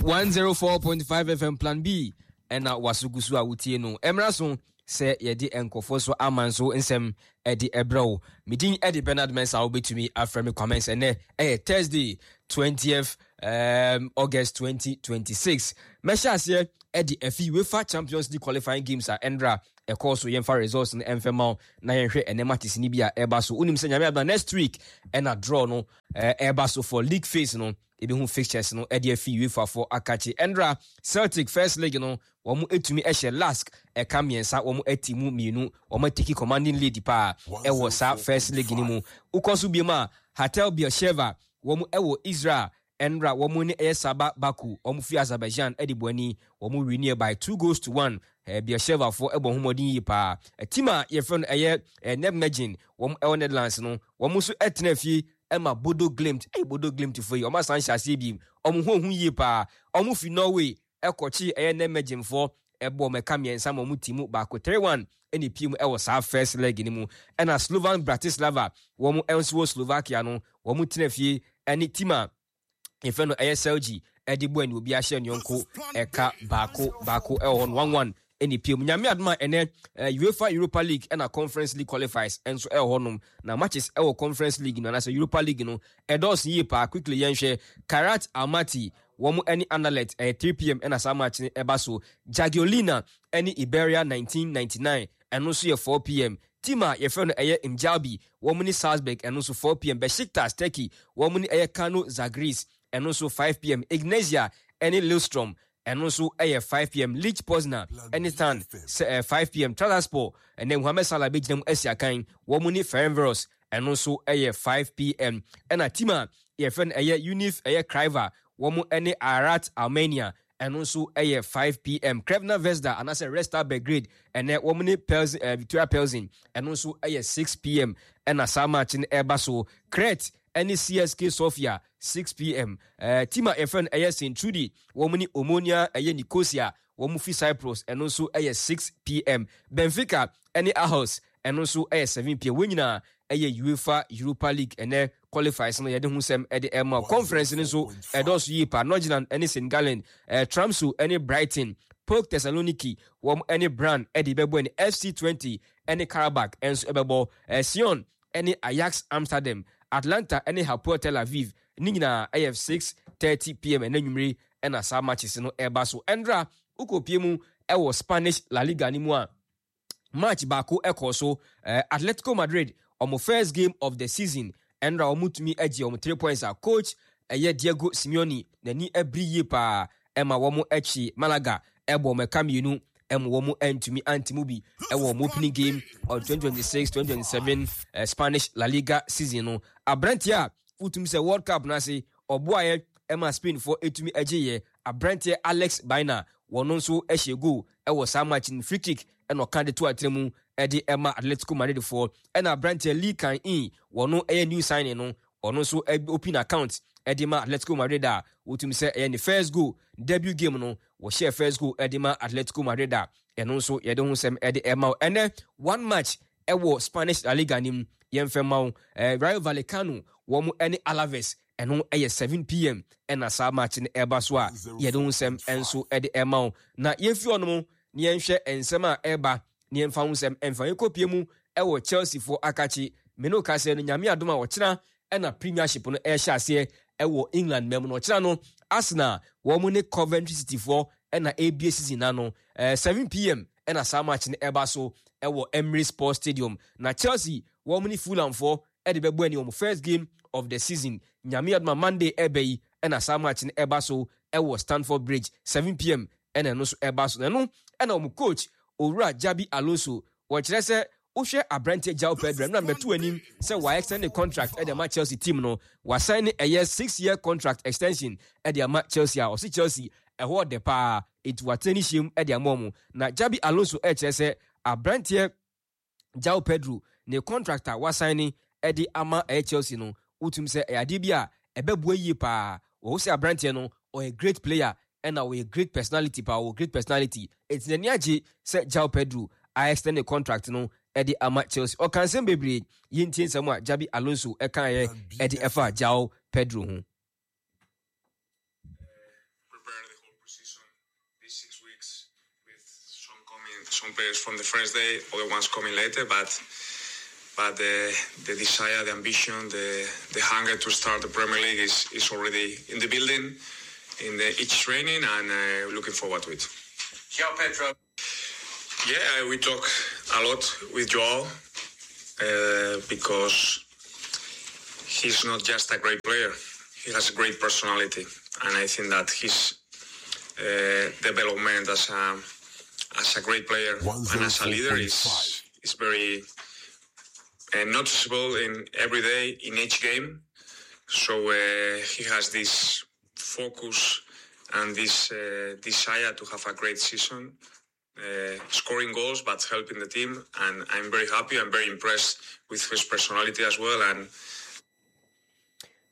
104.5 FM Plan B ɛna waso gu so a wotie no. Ɛmmra so sɛ yɛde nkurɔfoɔ so ama nso nsɛm ɛde ɛbrɛ wo. Medin ɛde Bernard Mensah, wobɛtumi afrɛ me Kwamens. Ɛnɛ ɛyɛ Thursday, 20th August 2026. Mɛhyɛ aseɛ ɛde afi UEFA Champions League qualifying games a ɛndra ɛkɔɔ so. Yɛmfa results no ɛmfɛ ma wo na yɛnhwɛ ɛnɛ matches no bi a ɛba so. Wonim sɛ Nyame adoma, next week ɛna draw no ɛba so for league phase no. Ebi fixtures no ɛde afi UEFA fo akakye. Ɛndra Celtic first leg no, wɔn etumi ɛhyɛ Lask ɛka mmiɛnsa, wɔn ɛti mu mmienu, wɔn atake commanding lead paa ɛwɔ saa first leg no mu. Wokɔ so biem a, Hapoel Beersheva, wɔn ɛwɔ Israel, ɛnra wɔn ne ɛyɛ Sabah Baku, wɔn fi Azerbaijan, ɛde bɔ ani, wɔn win by 2 goals to 1. Beersheva foɔ ɛbɔ ho mmɔden yie paa. Team a yɛfrɛ no ɛyɛ Nijmegen, wɔn ɛwɔ Netherlands no, wɔn nso ɛtena fie ɛma Bodo Glimt. Ɛyɛ Bodo Glimt fo yi, wɔn asan hyɛ aseɛ bi, wɔn ho yie paa. Wɔn fi Norway ɛkɔkye ɛyɛ Nijmegen foɔ, ɛbɔ wɔn ɛka mmiɛnsa ma wɔn ti mu baako, 3-1 ɛna epie mu ɛwɔ saa first leg no mu. Ɛna Slovan Bratislava, wɔn nso wɔ Slovakia no, wɔn tena fie ɛne team a yɛfrɛ no ɛyɛ Celje ɛde bɔ ɛne obi ahyɛ nyɔnko ɛka baako baako ɛwɔ hɔ no, 1-1 ɛna epie mu. Nyame adom a, ɛnɛ UEFA Europa League ɛna Conference League qualifiers ɛnso ɛwɔ hɔnom, na matches ɛwɔ Conference League no anaasɛ Europa League no ɛdɔɔso yie paa. Quickly yɛnhwɛ Kairat Almaty, wɔn ɛne Anderlecht, ɛyɛ 3 p.m. ɛna saa match no ɛba so. Jagiellonia ɛne Iberia 1999, ɛno nso yɛ 4 p.m. Team a yɛfrɛ no ɛyɛ Mjällby, wɔn ne Salzburg, ɛno nso 4 p.m. Besiktas, Turkey, wɔn ne ɛyɛ Kano Zagris, ɛno nso 5 p.m. Egnatia ɛne Lillestrøm, ɛno nso ɛyɛ 5 p.m. Lech Poznan ɛne Stan 5 p.m. Trabzonspor, ɛnɛ Mohamed Salah bɛgyina mu asi akan, wɔn ne Ferencvaros, ɛno nso ɛyɛ 5 p.m. Ɛna team a yɛfrɛ no ɛyɛ Univ ɛyɛ Craiova, wɔn ɛne Ararat Armenia, ɛno nso ɛyɛ 5 p.m. Crvena Zvezda anaasɛ Red Star Belgrade, ɛnɛ wɔn ne Pilsen, Victoria Pilsen, ɛno nso ɛyɛ 6 p.m. ɛna saa match no ɛreba so. Crete ɛne CSK Sofia, 6 p.m. Team a yɛfrɛ no ɛyɛ St Trudy, wɔn ne Omonia ɛyɛ Nicosia, wɔn fi Cyprus, ɛno nso ɛyɛ 6 p.m. Benfica ɛne Aarhus, ɛno nso ɛyɛ 7 p.m. Wɔn nyinaa ɛyɛ UEFA Europa League ɛnɛ qualifiers no yɛde ho nsɛm ɛde ɛma. Conference no nso ɛdɔɔso yie pa. Nordsjælland ɛne St Gallen, Tromso ɛne Brighton, PAOK Thessaloniki, wɔn ɛne Brann ɛde bɛbɔ, ɛne FC 20 ɛne Qarabag ɛnso ɛbɛbɔ, Sion ɛne Ajax Amsterdam, Atlanta ɛne Hapoel Tel Aviv. Ne nyinaa ɛyɛ 6:30 p.m. ɛna nwumire ɛna saa matches no ɛba so. Ɛndra wokɔpie mu ɛwɔ Spanish La Liga no mu a, match baako ɛkɔ so, Atletico Madrid ɔmo first game of the season. Ɛnra ɔmo tumi agye ɔmo 3 points a coach ɛyɛ Diego Simeone n'ani abiri yie paa. Ɛma wɔn akyi Malaga ɛbɔ ɔmo ɛka mmienu, ɛma wɔn ntumi ante mu bi ɛwɔ wɔn opening game of 2026-2027 Spanish La Liga season no. Aberanteɛ a wotumi sɛ World Cup n'ase ɔboayɛ ɛma Spain foɔ etumi agye yɛ aberanteɛ Alex Baena, wɔn nso hyɛ goal ɛwɔ saa match no. Free kick ɛna ɔka de to atena mu ɛde ɛma Atletico Madrid foɔ. Ɛna aberanteɛ Lee Kang In, wɔn ɛyɛ new signing no, ɔno nso open account ɛde ma Atletico Madrid a wotumi sɛ ɛyɛ ne first goal, debut game no wɔhyɛ first goal ɛde ma Atletico Madrid a ɛno nso yɛde ho nsɛm ɛde ɛma wo. Ɛnɛ one match ɛwɔ Spanish La Liga nim, yɛmfɛ ma wo, Rayo Vallecano, wɔn ɛne Alaves, ɛno ɛyɛ 7 p.m. ɛna saa match no ɛba so a yɛde ho nsɛm ɛnso ɛde ɛma wo. Na yɛmfi hɔnom na yɛnhwɛ nsɛm a ɛba na yɛmfa ho nsɛm ɛmfa yɛnkɔpie mu ɛwɔ Chelsea foɔ akakye. Mene wo kasɛ no, Nyame adom a, ɔkyena ɛna Premiership no ɛhyɛ aseɛ ɛwɔ England mɛmu no. Ɔkyena no Arsenal wɔn ne Coventry City foɔ ɛna ɛrebie season na no, 7 p.m. ɛna saa match no ɛba so ɛwɔ Emirates Sports Stadium. Na Chelsea wɔn ne Fulham foɔ ɛde bɛbɔ ani, wɔn first game of the season. Nyame adom a, Monday ɛbɛ yi ɛna saa match no ɛba so ɛwɔ Stamford Bridge, 7 p.m. ɛna ɛno nso ɛba so. Na ɛno ɛna wɔn coach Owura Xabi Alonso wɔkyerɛ sɛ wohwɛ aberanteɛ João Pedro ɛno na mbɛto anim sɛ wa extend ne contract ɛde ama Chelsea team no. Wasan ne ɛyɛ 6 year contract extension ɛde ama Chelsea a ɔsi Chelsea ɛhɔ ɔdɛ paa, eti watena ne hyɛm ɛde ama ɔmo. Na Xabi Alonso ɛkyerɛ sɛ aberanteɛ João Pedro ne contract a wasan ne ɛde ama ɛyɛ Chelsea no, wotum sɛ ɛyɛ adeɛ bi a ɛbɛboa yie paa. Wɔwɔ sɛ aberanteɛ no ɔyɛ great player ɛna ɔyɛ great personality paa, ɔwɔ great personality, eti n'ani agye sɛ João Pedro a extend ne contract no ɛde ama Chelsea. Ɔka nsɛm bebree, yɛntie nsɛm a Xabi Alonso ɛkaeɛ ɛde ɛfa João Pedro ho. Pre-season, these 6 weeks with some players from the first day, other ones coming later, but the desire, the ambition, the hunger to start the Premier League is already in the building, in the each training, and looking forward to it. João Pedro. Yeah, we talk a lot with Joao because he's not just a great player; he has a great personality, and I think that his development as a great player and as a leader is very noticeable in every day in each game. So he has this focus and this desire to have a great season, scoring goals but helping the team. And I'm very happy. I'm very impressed with his personality as well. And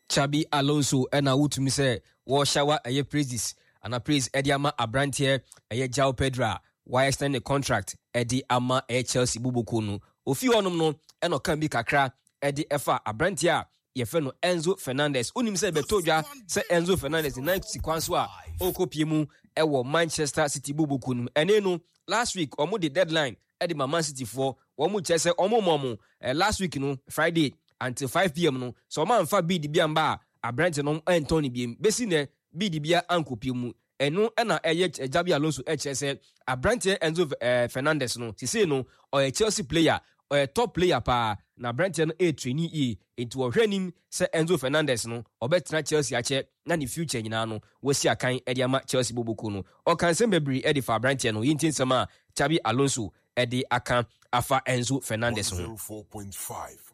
Xabi Alonso ɛna wotumi sɛ wɔhyɛ ɛyɛ praises ana praise ɛde ama aberanteɛ ɛyɛ João Pedro a wɔayɛ extend ne contract ɛde ama ɛyɛ Chelsea boboko no. Ofi hɔnom no, ɛna ɔka bi kakra ɛde ɛfa aberanteɛ a yɛfrɛ no Enzo Fernandez. Wonim sɛ bɛtɔ dwa sɛ Enzo Fernandez ne nan si kwan so a ɔrekɔpie mu ɛwɔ Manchester City boboko no mu. Ɛne no, last week ɔmo de deadline ɛde ma Man City foɔ. Wɔn mu kyerɛ sɛ ɔmo mɔ mo last week no Friday until 5 p.m. no sɛ ɔmo anfa bid bi amba a, aberante no ɛntɔn ne biem. Besi nɛ, bid bia ankɔpie mu. Ɛno ɛna ɛyɛ Xabi Alonso ɛkyerɛ sɛ aberanteɛ Enzo Fernandez no, sisei no ɔyɛ Chelsea player, ɔyɛ top player paa, na aberanteɛ no ɛre train yie, nti wɔhwɛ anim sɛ Enzo Fernandez no ɔbɛtena Chelsea akyɛ na ne future nyinaa no wɔasi akan ɛde ama Chelsea boboko no. Ɔka nsɛm bebree ɛde fa aberanteɛ no. Yɛntie nsɛm a Xabi Alonso ɛde aka afa Enzo Fernandez ho. 104.5.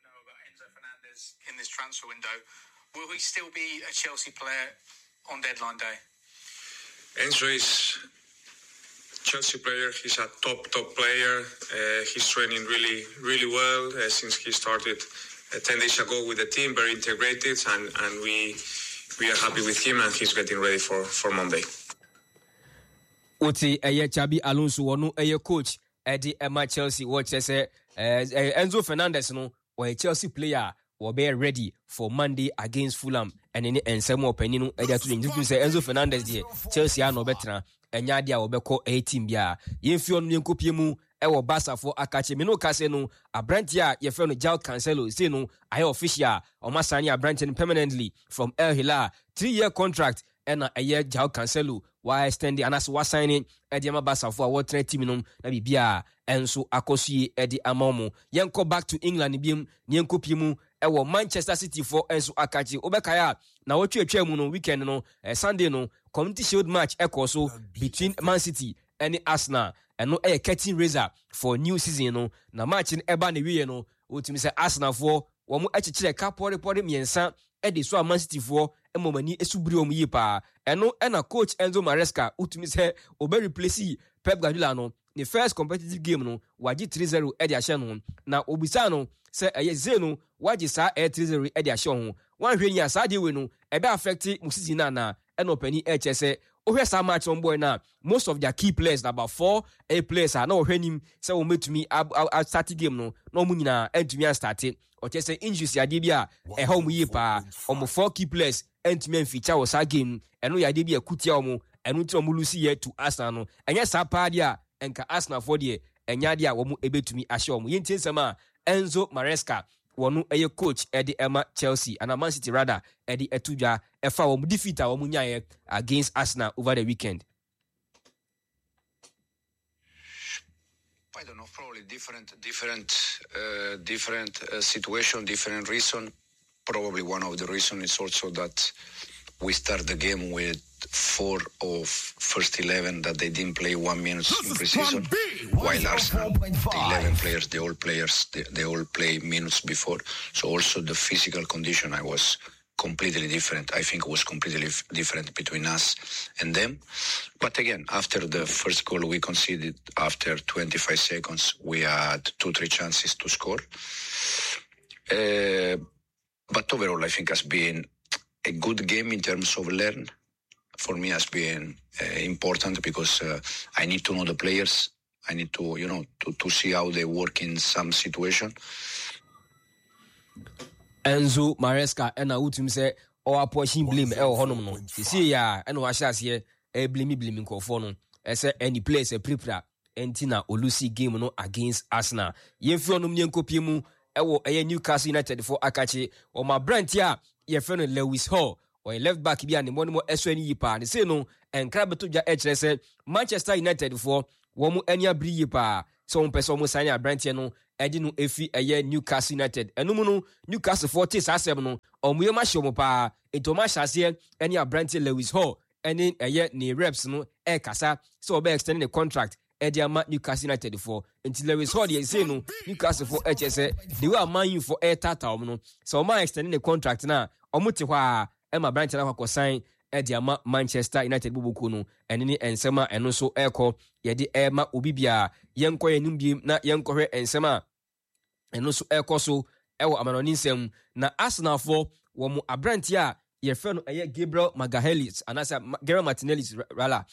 Know about Enzo Fernandez in this transfer window. Will he still be a Chelsea player on deadline day? Enzo is Chelsea player. He's a top, top player. He's training really, really well since he started 10 days ago with the team, very integrated, and we are happy with him, and he's getting ready for Monday. Wote ɛyɛ Xabi Alonso, wɔno ɛyɛ coach ɛde ɛma Chelsea, wɔkyerɛ sɛ Enzo Fernandez no wɔyɛ Chelsea player a wɔbɛyɛ ready for Monday against Fulham. Ɛne ne nsɛm a ɔpanin no ɛde ato ne ntutum sɛ Enzo Fernandez deɛ, Chelsea a na ɔbɛtena, ɛnyɛ adeɛ a wɔbɛkɔ ɛyɛ team biara. Yɛmfi ɔno yɛnkɔpie mu ɛwɔ Barcafoɔ akakye. Me no kase no, aberanteɛ a yɛfrɛ no João Cancelo sei no ayɛ official a ɔma sign aberanteɛ no permanently from El Hilal. 3-year contract ɛna ɛyɛ João Cancelo wa extend anaasɛ wa sign ɛde ama Barcafoɔ a wɔtena team no na biribiara ɛnso akɔ so yie ɛde ama wɔn. Yɛnkɔ back to England biom na yɛnkɔpie mu ɛwɔ Manchester City foɔ nso akakye. Wobɛkae a, na wɔtwe atwa mu no, weekend no, Sunday no, Community Shield match ɛkɔ so between Man City ɛne Arsenal. Ɛno ɛyɛ curtain raiser for new season no, na match no ɛba ne wieɛ no, wotumi sɛ Arsenal foɔ wɔn akyekyerɛ ka pɔrepɔre mmiɛnsa ɛde so a Man City foɔ ɛma wɔn ani esu biri wɔn yie paa. Ɛno ɛna coach Enzo Maresca, wotumi sɛ ɔbɛ replace Pep Guardiola no, ne first competitive game no wagye 3-0 ɛde ahyɛ no, na obisa no sɛ ɛyɛ zee no wagye saa ɛyɛ 3-0 ɛde ahyɛ ho, wanhwɛ ni a saa deɛ wei no ɛbɛ affect mo season no anaa? Ɛna ɔpanin ɛkyɛ sɛ wohwɛ saa match wɔn bɔɔl no a, most of their key players na about four ɛyɛ players a na wɔhwɛ anim sɛ wɔn bɛtumi a start game no na wɔn nyinaa ɛntumi a start. Ɔkyɛ sɛ injuries adeɛ bi a ɛha wɔn yie paa. Wɔn four key players ɛntumi amfeature wɔ saa game no. Ɛno yɛ adeɛ bi a ɛkutia wɔn, ɛno nti na wɔn lose yɛ to Arsenal no. Ɛnyɛ saa paa deɛ a nka Arsenal foɔ deɛ, ɛnyɛ adeɛ a wɔn ɛbɛtumi ahyɛ wɔn. Yɛntie nsɛm a Enzo Maresca, wɔn ɛyɛ coach ɛde ɛma Chelsea ana Man City rather, ɛde ɛto dwa ɛfa wɔn defeat a wɔn nyaeɛ against Arsenal over the weekend. I don't know, probably different situation, different reason. Probably one of the reason is also that we start the game with four of first 11 that they didn't play 1 minute in preseason, while Arsenal, the 11 players, the old players, they all play minutes before. So also the physical condition I was completely different. I think it was completely different between us and them. But again, after the first goal we conceded, after 25 seconds, we had two, three chances to score. But overall, I think has been a good game in terms of learn. For me, has been important because I need to know the players. I need to see how they work in some situation. Enzo Maresca ɛna wotumi sɛ ɔwɔ apportion blame ɛwɔ hɔnom no. Seesei yi a ɛna wahyɛ aseɛ ɛreblame blame nkurɔfoɔ no ɛsɛ ɛne players apirapira ɛnti na ɔlusi game no against Arsenal. Yɛmfiri hɔnom ne yɛnkɔpie mu ɛwɔ ɛyɛ Newcastle United foɔ akakye wɔn aberanteɛ a yɛfrɛ no Lewis Hall. Ɔyɛ left back bi a ne mmɔdemmɔ ɛsɔ ani yie paa. Ne sei no nkra bɛtɔ dwa ɛkyerɛ sɛ Manchester United foɔ wɔn ani abere yie paa sɛ wɔn pɛ sɛ wɔn sign aberanteɛ no ɛde no efi ɛyɛ Newcastle United. Ɛno mu no Newcastle foɔ te saa asɛm no, wɔn yam ahyɛ wɔn paa, nti wɔn ahyɛ aseɛ ɛne aberanteɛ Lewis Hall ɛne ɛyɛ ne reps no ɛrekasa sɛ wɔbɛ extend ne contract ɛde ama Newcastle United foɔ. Nti Lewis Hall deɛ sei no Newcastle foɔ ɛkyɛ sɛ the way a Man U foɔ ɛretaataa wɔn no, sɛ wɔn a extend ne contract no a, wɔn te hɔ a ɛma aberanteɛ no akɔ akɔsan ɛde ama Manchester United bɔbɔkuo no. Ɛno ne nsɛm a ɛno nso ɛrekɔ yɛde ɛrema obi biara. Yɛnkɔ yɛn anim biem na yɛnkɔhwɛ nsɛm a ɛno nso ɛrekɔ so ɛwɔ amanɔne nsɛm. Na Arsenalfoɔ wɔn aberanteɛ a yɛfrɛ no ɛyɛ Gabriel Magalhaes anaasɛ Gabriel Martinelli rala,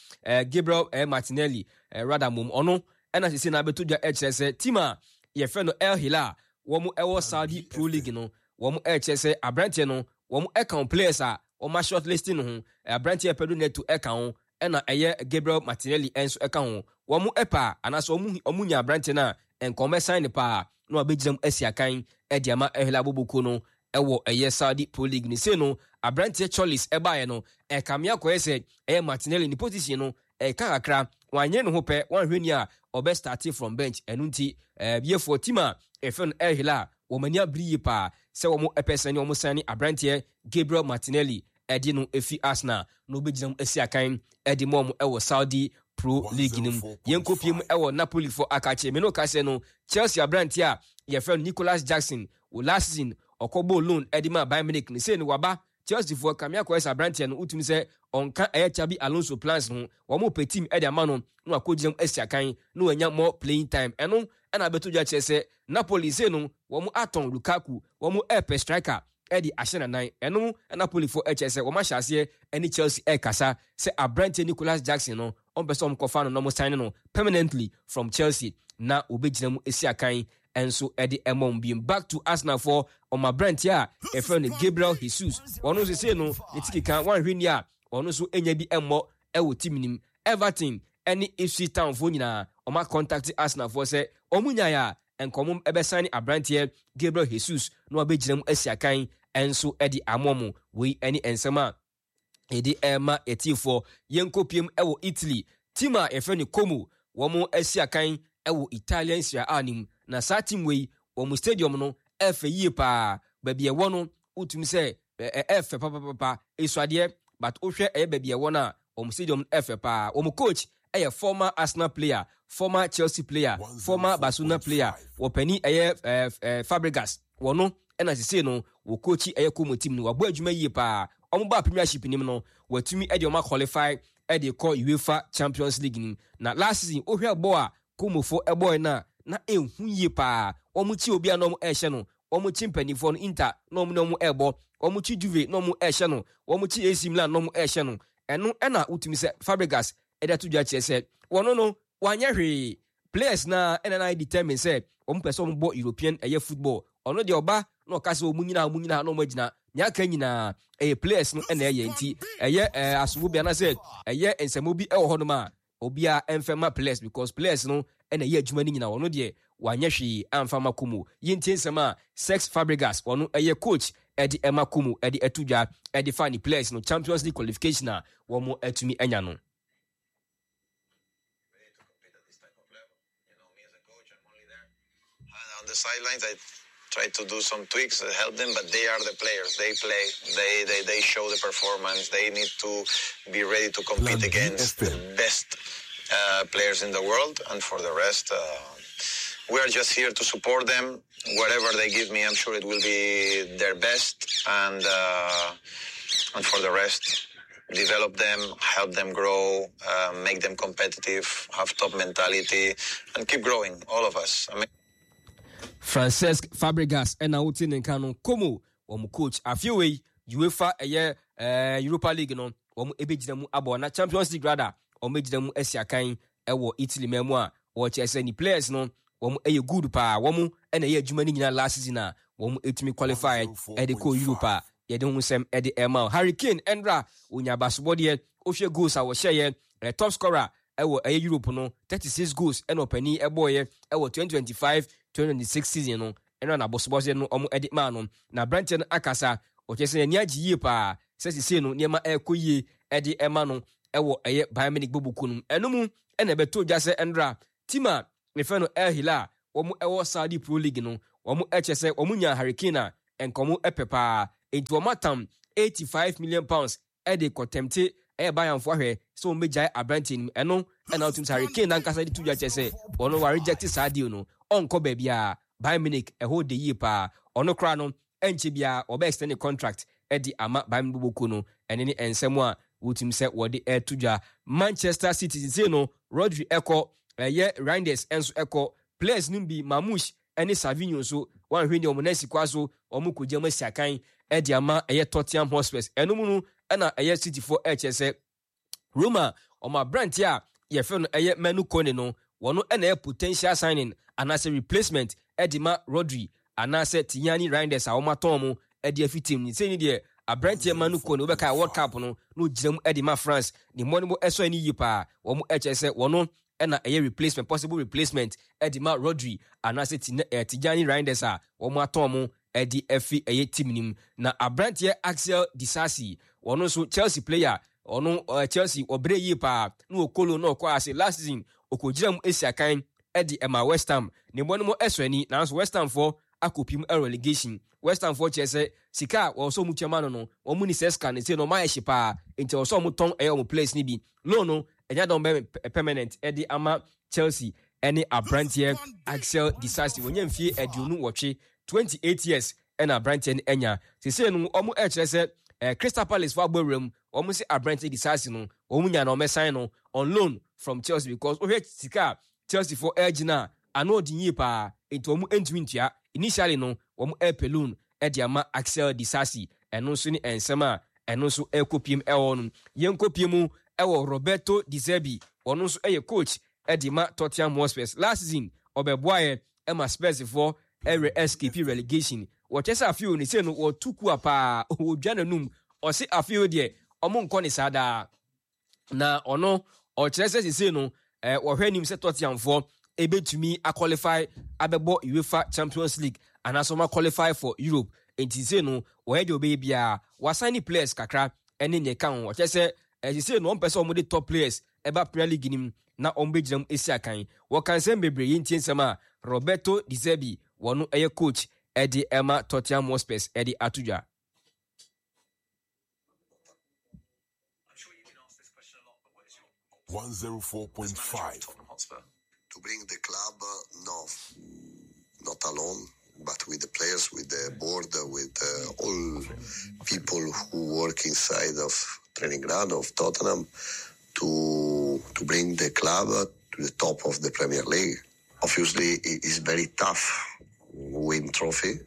Gabriel Martinelli rada mom, ɔno ɛna sisi na abɛto dwa ɛkyerɛ sɛ team a yɛfrɛ no El Hilal wɔn ɛwɔ Saudi Pro League no, wɔn ɛkyerɛ sɛ aberanteɛ no wɔn ɛka players a wɔn a shortlisting no ho. Aberanteɛ Pedro Neto ɛka ho, ɛna ɛyɛ Gabriel Martinelli ɛnso ɛka ho. Wɔn ɛpɛ a anaasɛ wɔn nya aberanteɛ no a nka wɔn ɛsan ne paa na wɔabɛgyina mu asi akan ɛde ama El Hilal bɔbɔkuo no ɛwɔ ɛyɛ Saudi Pro League ne. Sei no aberanteɛ Tzolis ɛbaeɛ no, ɛkame akɔyɛ sɛ ɛyɛ Martinelli ne position no ɛka kakra. Wanyere ne ho pɛ, wanhwɛ ni a ɔbɛ start from bench. Ɛno nti yɛfoɔ team a ɛfɛ no El Hilal wɔn ani abere yie paa sɛ wɔn ɛpɛ sɛ ne wɔn san ne aberanteɛ Gabriel Martinelli ɛde no efi Arsenal na ɔbɛgyina mu asi akan ɛde mu wɔn ɛwɔ Saudi Pro League no mu. Yɛnkɔ pie mu ɛwɔ Napoli fo akakye me no kasɛ no Chelsea aberanteɛ a yɛfrɛ no Nicholas Jackson wɔ last season ɔkɔbɔɔ loan ɛde ma Bayern Munich no, sei no waba Chelsea foɔ. Kame akɔyɛ sɛ aberanteɛ no wotumi sɛ ɔnka ɛyɛ Xabi Alonso plans ho. Wɔn pɛ team ɛde ama no na wakɔgyina mu asi akan na wanya more playing time. Ɛno ɛna abɛto dwa kyerɛ sɛ Napoli sei no wɔn atɔn Lukaku, wɔn ɛɛpɛ striker ɛde ahyɛ nanan. Ɛno Napoli foɔ ɛkyerɛ sɛ wɔn ahyɛ aseɛ ɛne Chelsea ɛrekasa sɛ aberanteɛ Nicholas Jackson no wɔn pɛ sɛ wɔn kɔfa no na wɔn sign no permanently from Chelsea na wɔbɛgyina mu esi akan nso ɛde ɛmɔ wɔn biem. Back to Arsenal foɔ, wɔn aberanteɛ a yɛfrɛ no Gabriel Jesus, wɔn nso sei no ne ti keka, wɔanhwɛ ni a ɔno nso nya bi mmɔ ɛwɔ team nim. Everton ɛne Ipswich Town foɔ nyinaa wɔn acontact Arsenal foɔ sɛ wɔn nyaeɛ a nka wɔn ɛbɛsan ne aberanteɛ Gabriel Jesus na wabɛgyina mu asi akan nso ɛde ama wɔn. Wei ɛne nsɛm a yɛde ɛrema yɛtiefoɔ. Yɛnkɔ piem ɛwɔ Italy. Team a yɛfrɛ no Como wɔn asi akan ɛwɔ Italian Serie A no mu. Na saa team wei wɔn stadium no ɛfɛ yie paa. Baabi ɛwɔ no wotumi sɛ ɛfɛ papapapa, esuadeɛ, but wohwɛ ɛyɛ baabi ɛwɔ no a wɔn stadium no ɛfɛ paa. Wɔn coach ɛyɛ former Arsenal player, former Chelsea player, former Barcelona player, wɔpanin ɛyɛ ɛɛ ɛɛ Fabregas. Wɔno ɛna sese no wɔ coach ɛyɛ Como team no. Wabɔ adwuma yie paa. Wɔn ba Premiership nim no, wɔatumi ɛde wɔn aqualify ɛde kɔ UEFA Champions League nim. Na last season wohwɛ bɔ a Como fo ɛbɔɛ no a na ehu yie paa. Wɔn kyi obi a na wɔn ɛrehyɛ no. Wɔn kyi mpanimfoɔ no, Inter na wɔn ne wɔn ɛrebɔ, wɔn kyi Juve na wɔn ɛrehyɛ no, wɔn kyi AC Milan na wɔn ɛrehyɛ no. Ɛno ɛna wotumi sɛ Fabregas ɛde ato dwa kyerɛ sɛ wɔn no wanyɛ hwee. Players na ɛna na determine sɛ wɔn pɛ sɛ wɔn bɔ European ɛyɛ football. Ɔno deɛ ɔba na ɔka sɛ wɔn nyinaa wɔn nyinaa na wɔn agyina nea aka nyinaa ɛyɛ players no ɛna ɛyɛ. Nti ɛyɛ asobo bi anaasɛ ɛyɛ nsɛmmo bi ɛwɔ hɔnom a obiara ɛmfɛ ma players because players no ɛna ɛyɛ adwuma no nyinaa. Ɔno deɛ wanyɛ hwee amfa ma Como. Yɛntie nsɛm a Cesc Fabregas, ɔno ɛyɛ coach ɛde ɛma Como, ɛde ɛto dwa ɛde fa ne players no Champions League qualification a wɔn atumi anya no. On the sidelines, I try to do some tweaks, help them, but they are the players. They play. They show the performance. They need to be ready to compete against the best players in the world. And for the rest, we are just here to support them. Whatever they give me, I'm sure it will be their best. And for the rest, develop them, help them grow, make them competitive, have top mentality, and keep growing, all of us. I mean, Francesc Fabregas ɛna wote ne nka no, Como wɔn coach. Afei wei UEFA ɛyɛ Europa League no wɔn ɛbɛgyina mu abɔ na Champions League rather wɔn bɛgyina mu asi akan ɛwɔ Italy man mu a wɔkyerɛ sɛ ne players no wɔn ɛyɛ good paa. Wɔn ɛna ɛyɛ adwuma no nyinaa last season a wɔn ɛtumi qualify ɛde kɔ Europe a. Yɛde ho nsɛm de rema wo. Harry Kane ɛnra onya abasobɔdeɛ, wohwɛ goals a wɔhyɛeɛ, top scorer ɛwɔ ɛyɛ Europe no, 36 goals ɛna ɔpanin ɛbɔɔyɛ ɛwɔ 2025-2026 season no, ɛnra n'abasobɔdeɛ no wɔn de maa no. Na aberanteɛ no akasa, ɔkyerɛ sɛ n'ani agye yie paa sɛ sesei no nneɛma ɛrekɔ yie ɛde ɛma no ɛwɔ ɛyɛ Bayern Munich bɔbɔkuo no mu. Ɛno mu ɛna ɛbɛtɔ dwa sɛ ɛnra team a yɛfrɛ no El Hilal a wɔn ɛwɔ Saudi Pro League no, wɔn ɛkyerɛ sɛ wɔn nyaa Harry Kane a nka wɔn pɛ paa. Enti wɔn atam £85 million de kɔtɛmte ɛyɛ Bayernfoɔ ahwɛ sɛ wɔn bɛgyae aberanteɛ no mu. Ɛno na wotum sɛ Harry Kane nankasa de to dwa kyerɛ sɛ ɔno wa reject saa deal no, ɔnkɔ baabiara. Bayern Munich ɛhɔ de yie paa. Ɔno koraa no ɛnkyɛ biara wɔbɛ extend ne contract de ama Bayern Munich bɔbɔkuo no. Ɛno ne nsɛm a wotum sɛ wɔde ɛto dwa. Manchester City sesei no Rodri ɛkɔ, ɛyɛ Reinders nso ɛkɔ, players no bi Marmoush ne Savinho nso wɔanhwɛ ni wɔn nan si kwa so wɔn kɔgya mu asi akan de ama ɛyɛ Tottenham Hotspurs. Ɛno mu no ɛna ɛyɛ Cityfoɔ ɛkyerɛ sɛ Roma wɔn aberanteɛ a yɛfrɛ no ɛyɛ Manu Kone no wɔn ɛna ɛyɛ potential signing anaasɛ replacement de ma Rodri anaasɛ Tijani Reinders a wɔn atɔn wɔn de afi team no. Sɛ ni deɛ aberanteɛ Manu Kone wobɛka World Cup no na ɔgyina mu de ma France ne mmɔdenbɔ ɛsɔ ani yie paa. Wɔn ɛkyerɛ sɛ wɔn ɛna ɛyɛ replacement, possible replacement de ma Rodri anaasɛ Tijani Reinders a wɔn atɔn mo de afi ɛyɛ team no mu. Na aberanteɛ Axel Disasi, ɔno nso Chelsea player, ɔno Chelsea ɔbrɛ yie paa na ɔkɔ loan na ɔkɔ ase last season ɔkɔgyina mu asi akan de ɛma West Ham. Ne mmɔ no mu ɛsɔ ani nanso West Ham foɔ akɔpim relegation. West Ham foɔ kyerɛ sɛ sika a wɔwɔ sɛ wɔn tua ma no no wɔn ni sɛ sika no sɛ no wɔn ayɛ hye paa nti ɛwɔ sɛ wɔn tɔn ɛyɛ wɔn players no bi. Loan no ɛnyɛ dɔn bɛ permanent ɛde ama Chelsea ɛne aberanteɛ Axel Disasi. Wɔnya mfie 28, 28 years ɛna aberanteɛ no anya. Sesei no wɔn ɛkyerɛ sɛ Crystal Palace fo abɔ awura mu, wɔn se aberanteɛ Disasi no wɔn nya na wɔn sign no on loan from Chelsea because wohwɛ sika a Chelsea fo ɛgyina a ano ɔden yie paa nti wɔn ntumi ntua. Initially no wɔn ɛpɛ loan ɛde ama Axel Disasi. Ɛno nso ne nsɛm a ɛno nso ɛkɔpiem ɛwɔ no. Yɛnkɔpiem mu ɛwɔ Roberto De Zerbi, ɔno nso ɛyɛ coach ɛde ma Tottenham Hotspurs. Last season ɔbɛboaeɛ ɛma Spurs foɔ ɛrɛ escape relegation. Wɔkyɛ sɛ afei ne sɛ no wɔtu kua paa, wɔdwa n'anum, ɔse afei deɛ ɔmo nkɔ ne saa daa. Na ɔno ɔkyerɛ sɛ sesei no wɔhwɛ anim sɛ Tottenhamfoɔ ɛbɛtumi aqualify abɛbɔ UEFA Champions League anaasɛ wɔn qualify for Europe. Nti sesei no wɔyɛ deɛ ɔbɛyɛ biara, wɔasan ne players kakra ɛne nea ɛka ho. Ɔkyerɛ sɛ sesei no wɔn pɛ sɛ wɔn de top players ɛba Premier League nim na wɔn bɛgyina mu esi akan. Wɔka nsɛm bebree, yɛntie nsɛm a Roberto De Zerbi, wɔn ɛyɛ coach ɛde ɛma Tottenham Hotspurs ɛde ato dwa. 104.5. To bring the club, no, not alone, but with the players, with the board, with all people who work inside of training ground of Tottenham, to bring the club to the top of the Premier League. Obviously, it is very tough win trophy,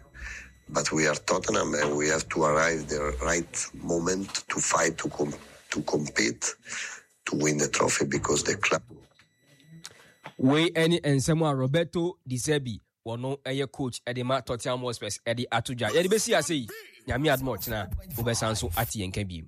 but we are Tottenham and we have to arrive the right moment to fight, to compete, to win the trophy because the club. Wei ɛne nsɛm a Roberto De Zerbi wɔno ɛyɛ coach ɛde ma Tottenham Hotspurs ɛde ato dwa. Yɛde bɛsi ase yi, Nyame adom a ɔkyena wobɛsan so ate yɛn ka bio.